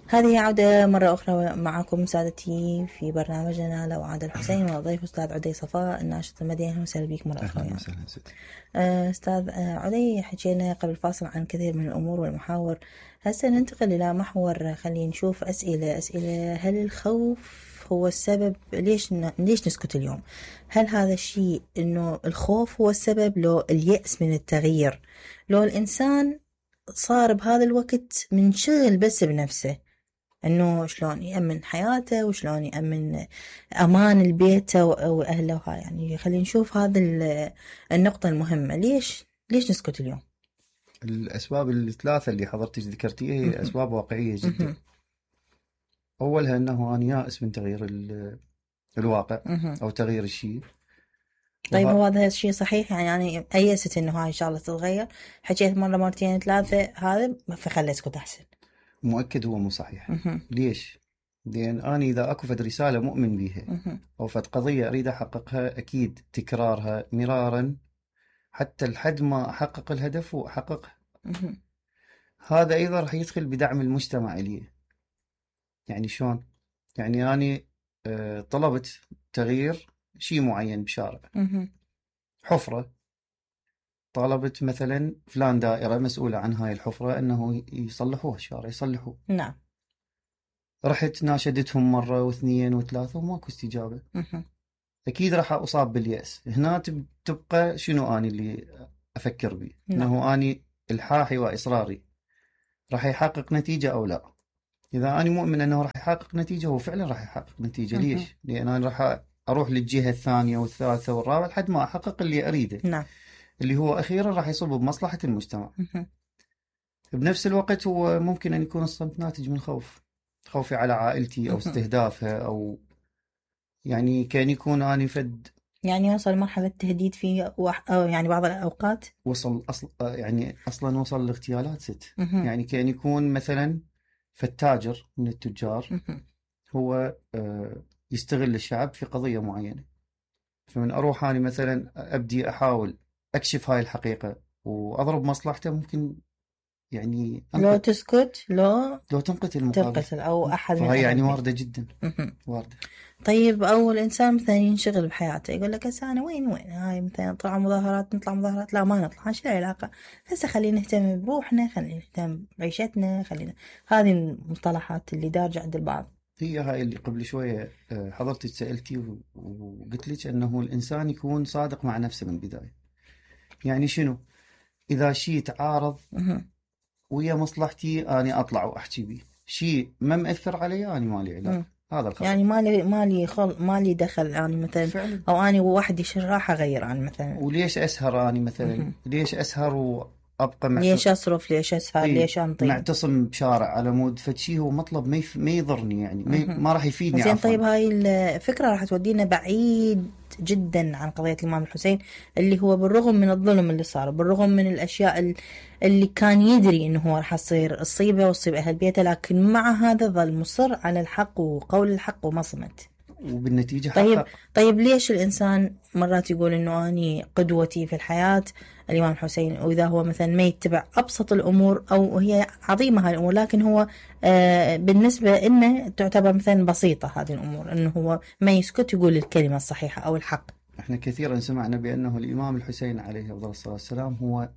هذه عودة مرة أخرى معكم سادتي في برنامجنا لو عاد الحسين، والضيف أستاذ عدي صفاء الناشط المدني. أهلا وسهلا بك مرة أخرى. أهلا وسهلا ستي. أستاذ عدي، حكينا قبل الفاصل عن كثير من الأمور والمحاور. هسه ننتقل إلى محور، خلينا نشوف أسئلة. هل الخوف هو السبب؟ ليش نسكت اليوم؟ هل هذا الشيء إنه الخوف هو السبب، لو اليأس من التغيير، لو الإنسان صار بهذا الوقت منشغل بس بنفسه، انه شلون يأمن حياته وشلون يأمن امان البيت واهله؟ يعني خلينا نشوف هذا النقطة المهمة. ليش نسكت اليوم؟ الأسباب الثلاثة اللي حضرتك ذكرتيها هي أسباب واقعية جدا. أولها أنه أنا يائس من تغيير الواقع أو تغيير الشيء. طيب هو هذا الشيء صحيح؟ يعني أيست أنه هاي إن شاء الله تتغير، حكيت مرة مرتين ثلاثة هذا فخلي اسكت أحسن. مؤكد هو مو صحيح. ليش؟ لأن أنا إذا أكو فد رسالة مؤمن بيها أو فد قضية أريد أحققها، أكيد تكرارها مرارا حتى لحد ما أحقق الهدف وأحققها. هذا أيضا رح يدخل بدعم المجتمع لي. يعني شلون؟ يعني أنا طلبت تغيير شيء معين بشارع، حفرة، طالبت مثلا فلان دائرة مسؤولة عن هاي الحفرة أنه يصلحوها الشارع، يصلحوه. نعم. رحت ناشدتهم مرة واثنين وثلاثة وماكو استجابة. أكيد راح أصاب باليأس. هنا تبقى شنو أنا اللي أفكر به؟ أنه أنا الحاحي وإصراري راح يحقق نتيجة أو لا. إذا أنا مؤمن أنه راح يحقق نتيجة، هو فعلا راح يحقق نتيجة. ليش؟ لأن أنا راح أروح للجهة الثانية والثالثة والرابعة لحد ما أحقق اللي أريده. نعم. اللي هو أخيرا راح يصب بمصلحة المجتمع. بنفس الوقت هو ممكن أن يكون الصمت ناتج من خوفي على عائلتي أو استهدافها، أو يعني كان يكون أنا يعني يوصل مرحلة تهديد فيه أو يعني بعض الأوقات وصل أصلا وصل لاغتيالات ست. يعني كان يكون مثلا فالتاجر من التجار هو يستغل الشعب في قضية معينة، فمن أروح أنا مثلا أبدي أحاول أكشف هاي الحقيقة وأضرب مصلحته، ممكن يعني لو تسكت لو تنقتل المقابل أو أحد من فهي يعني واردة جدا. واردة. طيب أول إنسان مثلا ينشغل بحياته يقول لك هسه أنا وين هاي مثلا نطلع مظاهرات، لا ما نطلع، شو العلاقة؟ هسه خلينا نهتم بروحنا، خلينا نهتم بعيشتنا، خلينا. هذه المصطلحات اللي دارجة عند البعض. هي هاي اللي قبل شوية حضرتك سألتي وقلت لك أنه الإنسان يكون صادق مع نفسه من البداية. يعني شنو؟ إذا شيء تعارض ويا مصلحتي أنا أطلع وأحكي بيه، شيء ما مأثر علي أنا مالي علاقة. هذا الخطأ. يعني مالي دخل يعني مثلا فعلا. أو أنا وواحد راح أغير أنا مثلا. وليش أسهر أنا مثلا؟ ليش أسهر وأبقى ليش أصرف؟ ليش أسهر؟ ليش أنطي؟ معتصم بشارع على مود فشي هو مطلب ما يضرني، يعني ما راح يفيدني. زين طيب هاي الفكرة راح تودينا بعيد جدا عن قضية الإمام الحسين، اللي هو بالرغم من الظلم اللي صار، بالرغم من الأشياء اللي كان يدري إنه هو راح تصير الصيبة وتصيب أهل بيته، لكن مع هذا ظل مصر على الحق وقول الحق وما صمت، وبالنتيجة حقق. طيب ليش الإنسان مرات يقول إنه أني قدوتي في الحياة الإمام الحسين، وإذا هو مثلا ما يتبع أبسط الأمور أو هي عظيمة هاي الأمور، لكن هو بالنسبة إنه تعتبر مثلا بسيطة هذه الأمور، إنه هو ما يسكت يقول الكلمة الصحيحة أو الحق. إحنا كثيرا سمعنا بأنه الإمام الحسين عليه أفضل الصلاة والسلام هو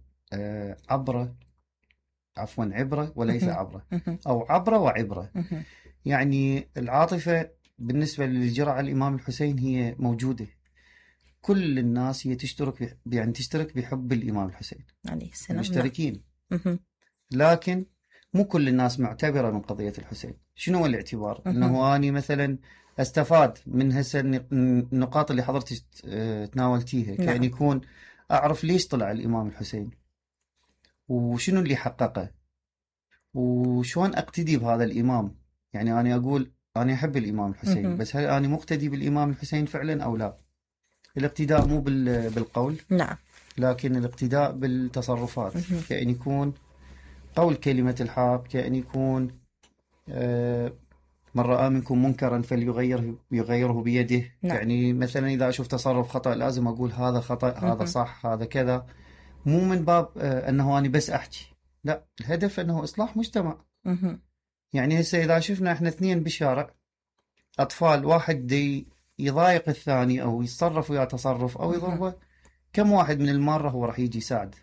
عبرة وليس عبرة، أو عبرة وعبرة. يعني العاطفة بالنسبة للجرى على الإمام الحسين هي موجودة. كل الناس هي تشترك بحب الإمام الحسين عليه السلام، مشتركين. لكن مو كل الناس معتبرة من قضية الحسين. شنو هو الاعتبار؟ أنه أنا مثلا أستفاد من هسه النقاط اللي حضرتك تناولتيها. كأن يكون أعرف ليش طلع الإمام الحسين وشنو اللي حققه وشون أقتدي بهذا الإمام. يعني أنا أقول أنا أحب الإمام الحسين، بس هل أنا مقتدي بالإمام الحسين فعلا أو لا؟ الاقتداء مو بالقول، نعم، لكن الاقتداء بالتصرفات. كأن يكون قول كلمة الحق، كأن يكون من رأى منكم منكرا فليغيره بيده. نعم. يعني مثلا إذا أشوف تصرف خطأ لازم أقول هذا خطأ، هذا صح، هذا كذا. مو من باب أنه أنا بس أحكي، لا، الهدف أنه إصلاح مجتمع. يعني هسه إذا شفنا إحنا اثنين بالشارع، أطفال، واحد دي يضايق الثاني أو يتصرف وياه تصرف أو يضربه، كم واحد من المارة هو راح يجي يساعد؟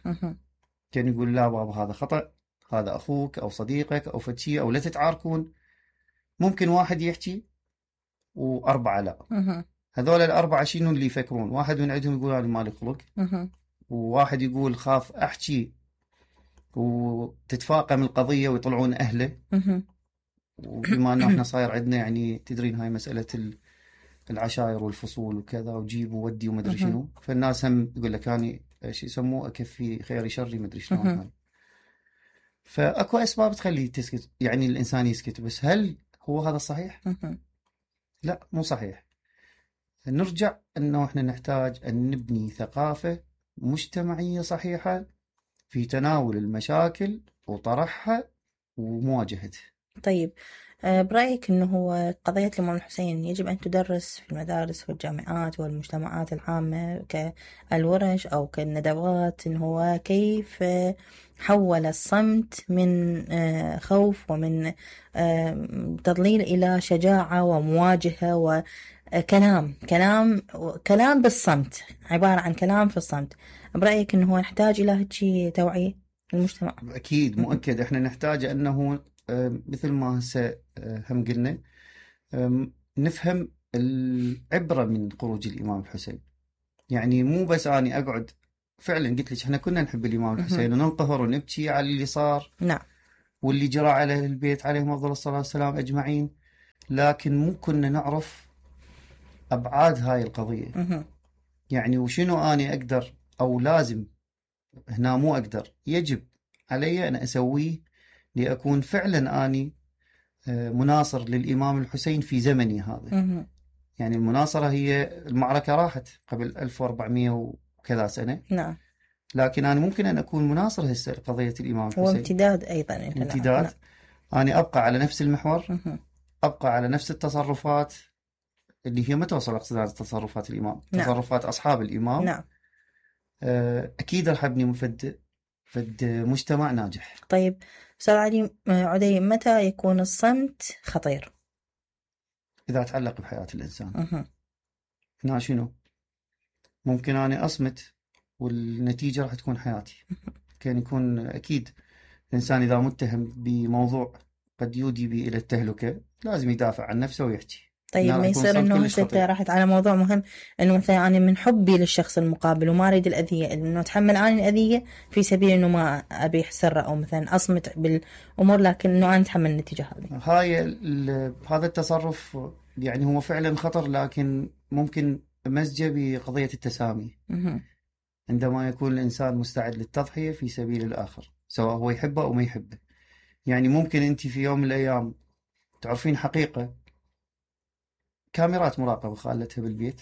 كان يقول لا بابا هذا خطأ، هذا أخوك أو صديقك أو فتشي، أو لا تتعاركون. ممكن واحد يحكي وأربعة لا. هذول الأربعة شنو اللي يفكرون؟ واحد من عندهم يقول أنا مالي خلق، وواحد يقول خاف أحكي وتتفاقم القضية ويطلعون أهله. وبما أنه إحنا صاير عندنا يعني تدرين هاي مسألة العشائر والفصول وكذا، وجيب وودي ومدري شنو، فالناس هم يقول لك أنا شو يسموه أكفي خيري شري مدري شلون هاي. فأكو أسباب تخلي تسكت، يعني الإنسان يسكت، بس هل هو هذا الصحيح؟ لا، مو صحيح. نرجع أنه إحنا نحتاج أن نبني ثقافة مجتمعية صحيحة في تناول المشاكل وطرحها ومواجهتها. طيب، برأيك أنه هو قضية الإمام الحسين يجب أن تدرس في المدارس والجامعات والمجتمعات العامة كالورش أو كالندوات، أنه هو كيف حول الصمت من خوف ومن تضليل إلى شجاعة ومواجهة كلام بالصمت، عبارة عن كلام في الصمت. برأيك أنه هو نحتاج إلى هيك توعية المجتمع؟ أكيد مؤكد إحنا نحتاج أنه مثل ما هسه هم قلنا نفهم العبرة من خروج الإمام الحسين. يعني مو بس أني أقعد، فعلا قلت لك إحنا كنا نحب الإمام الحسين وننقهر ونبكي على اللي صار، نعم، واللي جرى على أهل البيت عليهم أفضل الصلاة والسلام أجمعين، لكن مو كنا نعرف أبعاد هاي القضية. يعني وشنو أني أقدر أو لازم، هنا مو أقدر، يجب علي أن أسويه لأكون فعلا أني مناصر للإمام الحسين في زمني هذا. يعني المناصرة هي المعركة راحت قبل 1400 وكذا سنة، نعم، لكن أنا ممكن أن أكون مناصر هسه لقضية الإمام الحسين. وامتداد أيضا، امتداد. نعم. أنا أبقى على نفس المحور، أبقى على نفس التصرفات اللي هي ما توصل أقصد تصرفات الإمام، نعم. تصرفات أصحاب الإمام. نعم. أكيد رح أبني فد مجتمع ناجح. طيب أستاذ علي عدي، متى يكون الصمت خطير؟ إذا تعلق بحياة الإنسان. هنا شنو؟ ممكن أنا أصمت والنتيجة راح تكون حياتي. كان يكون أكيد الإنسان إذا متهم بموضوع قد يودي به إلى التهلكة لازم يدافع عن نفسه ويحكي. طيب ما يصير انه هسه راحت على موضوع مهم، انه مثلا انا من حبي للشخص المقابل وما اريد الاذيه، انه اتحمل اني الاذيه في سبيل انه ما ابيح سره او مثلا اصمت بالامور، لكن انه انا اتحمل النتيجه هذه. هذا التصرف يعني هو فعلا خطر، لكن ممكن مزجه بقضيه التسامي. عندما يكون الانسان مستعد للتضحيه في سبيل الاخر، سواء هو يحبه او ما يحبه. يعني ممكن انت في يوم من الايام تعرفين حقيقه، كاميرات مراقبة خالتها بالبيت،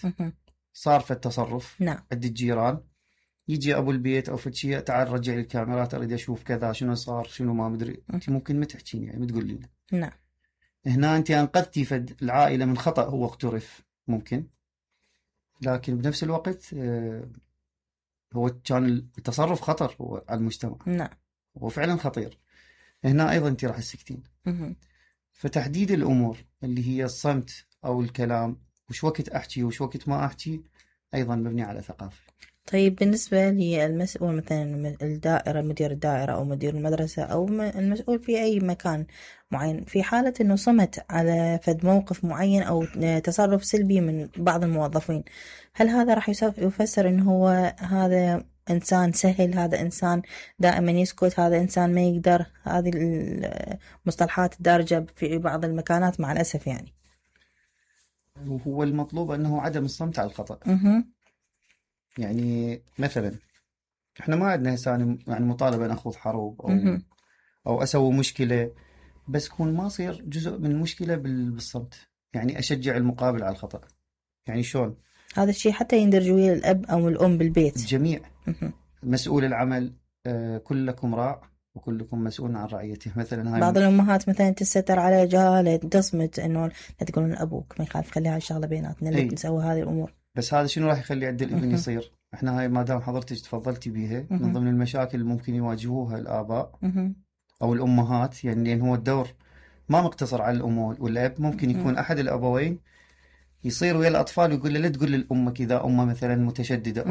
صار في التصرف، نعم. عند الجيران، يجي أبو البيت أو فتشي، تعال رجع لي الكاميرات أريد أشوف كذا شنو صار شنو ما مدري. أنت ممكن ما تحكين، يعني ما تقول لي. نعم. هنا أنت أنقذتي فد العائلة من خطأ هو اقترف ممكن، لكن بنفس الوقت هو كان التصرف خطر هو على المجتمع. نعم. هو فعلا خطير. هنا أيضا أنت راح تسكتين. فتحديد الأمور اللي هي الصمت أو الكلام، وش وقت أحكي وش وقت ما أحكي، أيضا مبني على ثقافة. طيب بالنسبة للمسؤول مثلا الدائرة، مدير الدائرة أو مدير المدرسة أو المسؤول في أي مكان معين، في حالة أنه صمت على فد موقف معين أو تصرف سلبي من بعض الموظفين، هل هذا راح يفسر أنه هو هذا إنسان سهل، هذا إنسان دائما يسكت، هذا إنسان ما يقدر؟ هذه المصطلحات الدارجة في بعض المكانات مع الأسف. يعني وهو المطلوب أنه عدم الصمت على الخطأ. يعني مثلا احنا ما عندنا هسه يعني مطالبة أن أخوض حرب أو أسوي مشكلة، بس كون ما صير جزء من المشكلة بالصمت. يعني أشجع المقابل على الخطأ. يعني شلون؟ هذا الشيء حتى يندرج ويا الأب أو الأم بالبيت. الجميع. مسؤول العمل، كلكم راع وكلكم مسؤول عن رعيته. مثلا هاي بعض الأمهات مثلا تستتر على جهالة، تصمت إنه لا تقولون أبوك ما يخالف، خليها الشغلة بيناتنا اللي نسوي هذه الأمور. بس هذا شنو راح يخلي عند الابن يصير؟ احنا هاي ما دام حضرتك تفضلتي بيها من ضمن المشاكل اللي ممكن يواجهوها الآباء أو الأمهات. يعني لأن هو الدور ما مقتصر على الأم والأب، ممكن يكون أحد الأبوين يصير ويا الأطفال ويقول له لا تقول لأمك إذا أمه مثلا متشددة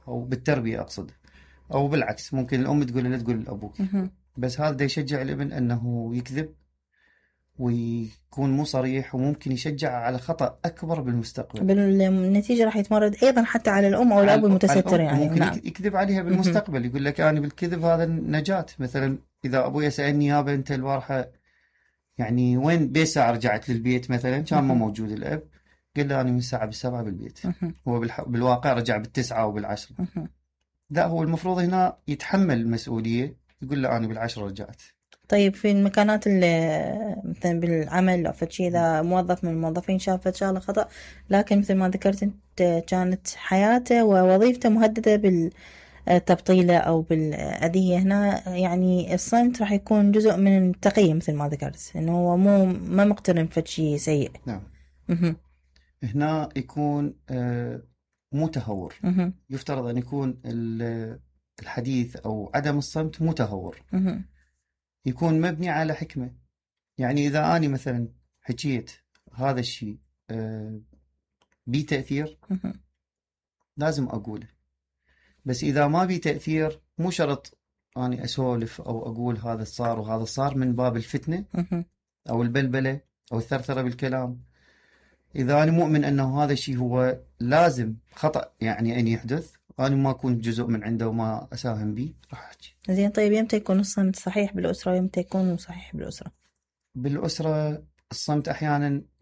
أو بالتربية أقصد، أو بالعكس ممكن الأم تقول له لا تقول لأبوك. بس هذا يشجع الابن أنه يكذب ويكون مو صريح، وممكن يشجع على خطأ أكبر بالمستقبل. بالنتيجة راح يتمرد أيضا حتى على الأم أو الأب المتستر يعني. ممكن نعم. يكذب عليها بالمستقبل، يقول لك أنا بالكذب هذا النجاة. مثلا إذا أبوي سألني يابا أنت البارحة يعني وين بساعة رجعت للبيت مثلا، كان ما موجود الأب، قال له أنا من الساعة 7 بالبيت. هو بالواقع رجع 9 و10. لا، هو المفروض هنا يتحمل المسؤولية، يقول له أنا 10 رجعت. طيب في المكانات اللي مثلا بالعمل أو فشي، إذا موظف من الموظفين شافت شغلة خطأ، لكن مثل ما ذكرت أنت كانت حياته ووظيفته مهددة بالتبطيلة أو بالأذية، هنا يعني الصمت راح يكون جزء من التقية مثل ما ذكرت، إنه هو ما مقترن فشي سيء. نعم. هنا يكون مو تهور. يفترض أن يكون الحديث أو عدم الصمت مو تهور، يكون مبني على حكمة. يعني إذا أنا مثلا حكيت هذا الشيء بي تأثير لازم أقوله، بس إذا ما بي تأثير مو شرط أنا أسولف أو أقول هذا صار وهذا صار من باب الفتنة أو البلبلة أو الثرثرة بالكلام. إذا أنا مؤمن أنه هذا الشيء هو لازم خطأ يعني أن يحدث، أنا ما أكون جزء من عنده وما أساهم به، راح أحكي. زين. طيب يمتى يكون الصمت صحيح بالأسرة ويمتى يكون صحيح بالأسرة؟ بالأسرة الصمت أحيانا